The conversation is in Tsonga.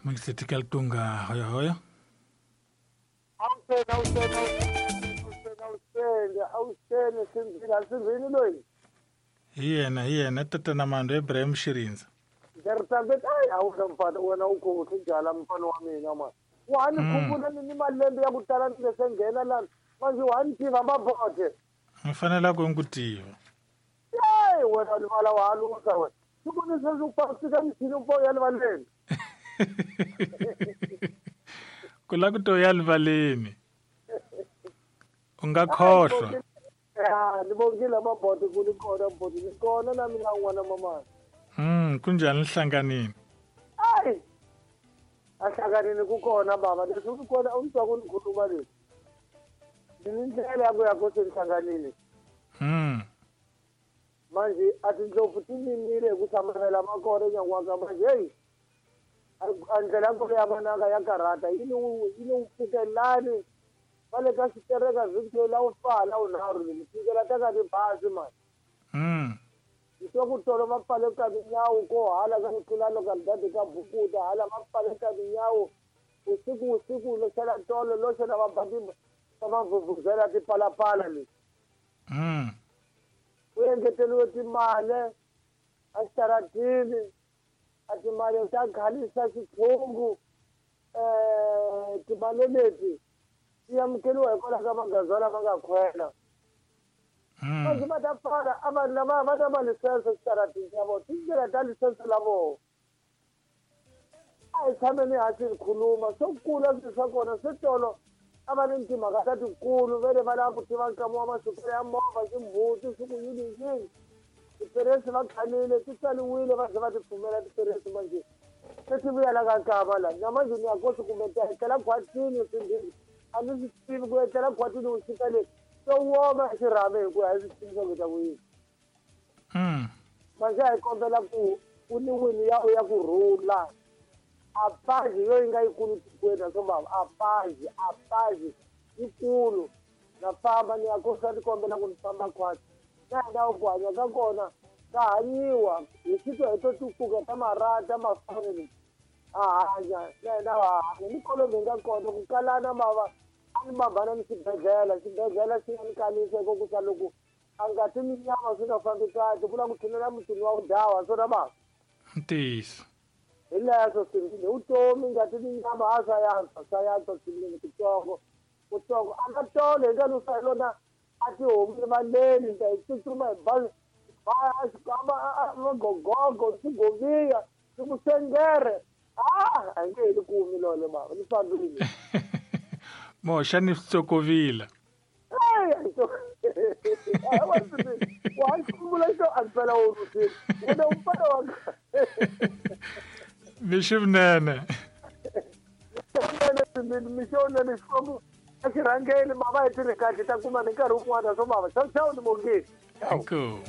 Mungisitika Tunga hoyo hoyo. Awuseni awuseni awuseni awuseni awuseni sinzini asinzini loyi. Hi yena hi yena tatana Mando Ibrahim Shirinza. Ngiyaritambet ayi awuza mfana wena ukhohle njala mfana wa mina mani. Wani khumbula ni malembe ya ku tala ni nge se nghena lana manje wani tiva mabodhe. Ni fanele ku ku tiva. Yeyi wena livala wa halusa wena. Siku ni sweswi u fika mithini u ya livaleni. Ku la ku to ya livaleni. U nga khohlwa. Ya ni vongile mabodhe ku ni kona mabodhe ni kona na mina n'wana mamani. Kunjani nhlanganini? Ayi. Ahlanganini ku kona baba leswi ku kona u twa ku ni khuluma leswi. Ni ndlela ya ku ya ku senhlanganini. Manje a tindlopfu ti mimile hi ku hlamarela makona nyan'waka manje heyi. A ndlela ya kona ya mananga ya karhata yi ni yi pfukelani va le ka xitereka vhiki la wu fa la wunharhu ni fikela ta ka tibazi mani. Hi twa ku tolo va pfale ka tinyawo ko hala ka ku tlula localidade ka Bukuta hala va pfale ka tinyawo usiku usiku lo xela tolo lo xela va ba va mavhuvhuzela tipalapala leti. Ku engeteriwe timali a xitaratini a timali ta khalisa xiphungu timali leti ti amukeriwa hikwalaho ka magazwa lama nga khwela. Manje va ta pfala a vanhu lava va na malisense xitaratini ya vona tindlela ta lisense la vona. A hi tshameni hansi hi khuluma swo kula swilo swa kona swi tolo a va ni timhaka ta tikulu ve le va lava ku tiva nkama wa masukelo ya movha ximbuti swi ku yini yini tiperesi va khanile ti tsaliwile va ze va ti pfumela tiperesi manje se ti vuyela ka nkama la na manje ni ya kosi kumbe ta etlela khwatini swimbirhi a ni swi tivi ku etlela khwatini u xika le swo woma hi xirhami hi ku a hi swi tivi swa ku ta ku yini. Manje a hi kombela ku ku ni wini ya ya ku rhula a paji yo yi nga yikulu tikweni naswo bava a paji yikulu na famba ni ya kosa ni kombela ku ni famba khwatsi na hina ku hanya ka kona ka hanyiwa hi xitwa hi to tukuka ta marata mafani a hanya na hina ha hanya ni kolomi hi nga kona ku kalana mava a ni mabana ni xibedhlele xibedhlele xi nga ni kalisa hikokusa loko a nga ti minyama swi nga fambi kahle ku la ku tshinela mutini wa vudawa swona bava. Ntiyiso. Hi leswo swivini vutomi ngati minyama a swa yantswa swinene kutsongo kutsongo a nga tolo hi nga lusa hi lona a tihomu rivaleni ta hi tsutsuma hi bazi magogogo swigoviya swikusengere a hi nge heli kumi lole bava ni fambile. Moxa ni switsokovila. Wa xikumbula xo a mpela wo rusini wena u mfana wa Mixo vunene. Mixo vunene Xikwembu a xi rhangeli mava hi tirhi kahle ta kuma ni nkarhi wun'wana swo mava. Chau chau ni mongeni. Inkomu.